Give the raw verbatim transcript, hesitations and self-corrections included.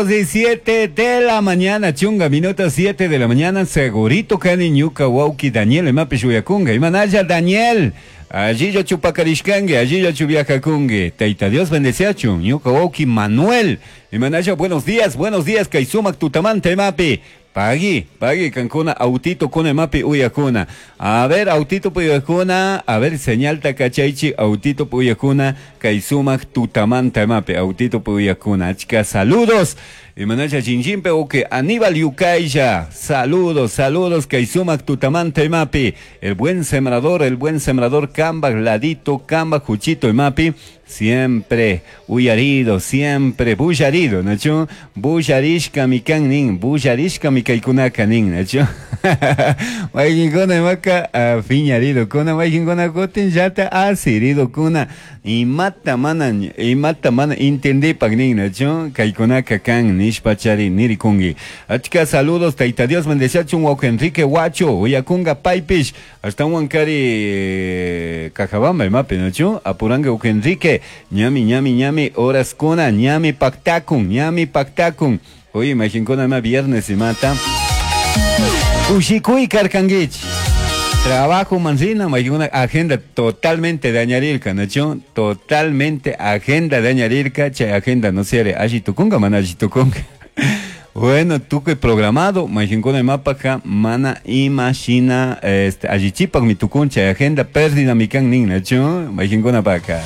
minutos y siete de la mañana, chunga minutos siete de la mañana, segurito kani ñuka wauki Daniel imapish uyakunga, imanalla Daniel, allí chupakarishkangi, allí viajakungi, Taita Dios bendeciachun, ñuka wauki Manuel, imanalla buenos días, buenos días, kay sumak tutamanta imapi. Pagui, pagui, kankuna, autito kuna imapi uyakuna. A ver, autito puyakuna, a ver, señal takachaichi, autito puyakuna, kay sumak tutamanta imapi, autito puyakuna. Achka, saludos. Imanacha chinchimpe, oke, Aníbal Yucailla, saludos, saludos, kay sumak tutamanta imapi. El buen sembrador, el buen sembrador, Kamba, Ladito, Kamba, Juchito imapi. Siempre uyarido, siempre bullarido, ¿no? Bullarishka mi kan nin, bullarishka mi kaikunaka nin, ¿no? Waykinkuna imaka fiñarido kuna, waykinkuna kutin llata asirido kuna, imata mana, imata mana entendipak nin, ¿no? Kaikunaka kan nishpachari nirikungi. Achka saludos, taita Dios bendeciachun, wauke Enrique Huacho, uyakunga paipish, hasta Huancari Cajabamba imapi, ¿no? Apuranga wauke Enrique, ñami, ñami, ñami, horas kuna, ñami pactacun, ñami pactacun. Oye, imaginkuna ima viernes imata. Ushikuy karkanguich. Trabajo manzina, una agenda totalmente dañarirka, ¿no? Totalmente agenda dañarirka, che agenda no se allí tukunga, mana allí tukunga. Bueno, tukuy programado, majinkuna imapaka, mana imagina, este, allí chipak mi tukun, che agenda pérdida mi kan nin, ¿no? Majinkuna paka.